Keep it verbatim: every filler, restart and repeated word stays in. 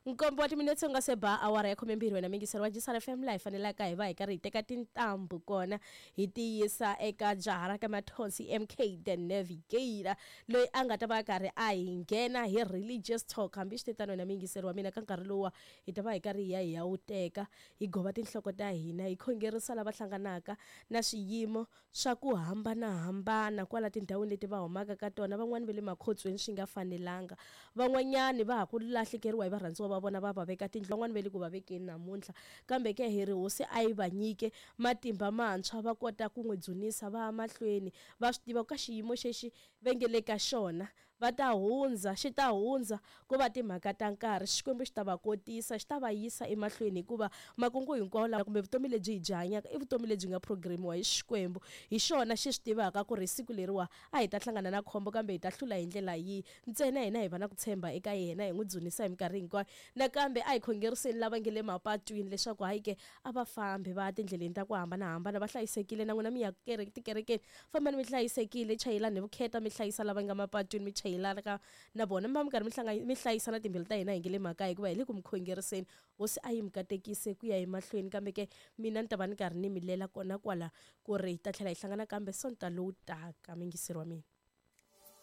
Nkombo wa timinetse u nga se ba awara ya khumembirhi, wena mingiseri wa Jisara F M, laha hi fanelaka hi va hi karhi hi teka tintambu kona hi tiyisa eka jaha ra ka Mathonsi M K the Navigator, loyi a nga ta va karhi a hi nghena hi religious talk. Hambi swi tano wena mingiseri wa mina, ka nkarhi lowa hi ta va hi karhi hi ya hi ya wu teka, hi gova tinhloko ta hina, hi khongerisa lava hlanganaka na swiyimo swa ku hambanahambana kwala tindhawini leti va humaka ka tona. Van'wani va le makhotsweni swi nga fanelanga, van'wanyani va ha ku lahlekeriwa hi varhandziwa va vona, va va veka tindlu, van'wani va le ku va vekeni namuntlha. Kambe ke hi ri hosi a yi va nyike matimba mantshwa, va kota ku n'wi dzunisa va ya mahlweni, va swi tiva ka xiyimo xexi va nge le ka xona va ta hundza, xi ta hundza, ku va timhaka ta nkarhi. Xikwembu xi ta va kotisa, xi ta va yisa emahlweni, hikuva makungu hinkwawo lawa kumbe vutomi lebyi hi byi hanyaka i vutomi lebyi nga programiwa hi Xikwembu. Hi xona xi swi tivaka ku ri siku leriwa a hi ta hlangana na khombo, kambe hi ta hlula hi ndlela yihi. Ntsena hina hi va na ku tshemba eka yena, hi n'wi dzunisa hi minkarhi hinkwayo. Nakambe a hi khongeriseni lava nge le mapatwini leswaku hayi ke a va fambi va ya tindleleni ta ku hambanahambana, va hlayisekile. Na n'wina mi ya tikerekeni, fambani mi hlayisekile, chayelani hi vukheta, mi hlayisa lava nga mapatwini, mi chayelana ka na vona, mi va mi karhi mi hlanga mi hlayisa na timbilu ta hina hi nge le makaya, hikuva hi le ku mi khongeriseni. Hosi a yi mi katekise ku ya emahlweni. Kambe ke mina ni ta va ni karhi ni mi lela kona kwala ku ri hi ta tlhela hi hlangana kambe Sonta lowu taka, mingiseri wa mina.